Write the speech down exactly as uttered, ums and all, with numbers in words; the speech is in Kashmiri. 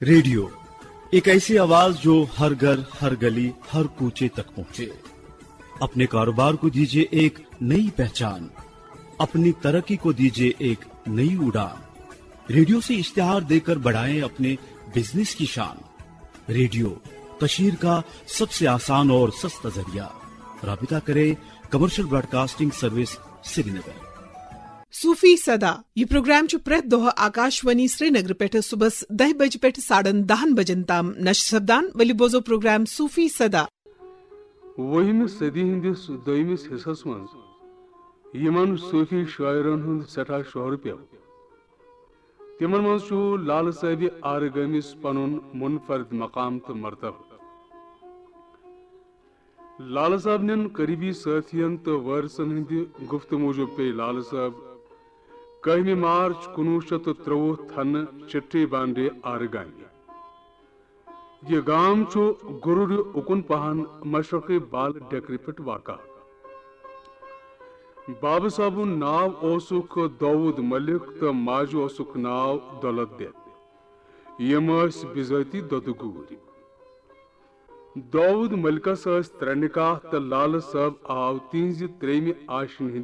रेडियो, एक ऐसी आवाज जो हर घर, हर गली, हर कूचे तक पहुंचे। अपने कारोबार को दीजिए एक नई पहचान, अपनी तरक्की को दीजिए एक नई उड़ान। रेडियो से इश्तिहार देकर बढ़ाएं अपने बिजनेस की शान। रेडियो, कशीर का सबसे आसान और सस्ता जरिया। राबिता करें कमर्शियल ब्रॉडकास्टिंग सर्विस श्रीनगर। صوفی صدا۔ یہ پروگرام چھُ پرٛٮ۪تھ دۄہ آکاشوانی سرینگر پٮ۪ٹھ صبحس دَہہِ بجہِ پٮ۪ٹھ ساڑن دَہن بجن تام نشر سپدان۔ ؤلِو بوزو پروگرام صوفی صدا۔ وُہمہِ صدی ہٕنٛدِس دوٚیمِس حصس منٛز یِمن صوفی شٲعرن ہُنٛد سٮ۪ٹھاہ شہرٕ پیوٚو، تِمن منٛز چھُ لالہٕ صٲبِ آرٕگٲمِس پنُن منفرد مقام تہٕ مرتبہٕ۔ لالہٕ صٲب نٮ۪ن قریبی سٲتھین تہٕ وٲرثن ہٕنٛدِ گُفتہٕ موٗجوٗب پیٚیہِ لالہٕ صٲب کٔہمہِ مارچ کُنوُہ شیٚتھ تہٕ ترٛۆوُہ تھنہٕ چٹھی بانڈے آرگامی۔ یہِ گام چھُ گُرُرِ اُکُن پہن مشرقی بال ڈیکرِ پٮ۪ٹھ واقع۔ بابہٕ صٲبُن ناو اوسُکھ داوود ملک تہٕ ماجہِ اوسُکھ ناو دولت بیگ۔ یِم ٲسۍ بِذٲتی دۄدٕ گوٗرۍ۔ داوود ملکس ٲسۍ ترٛےٚ نکاح تہٕ لالہٕ صٲب آو تِہنٛزِ ترٛیٚیمہِ آشہِ ہٕنٛدِ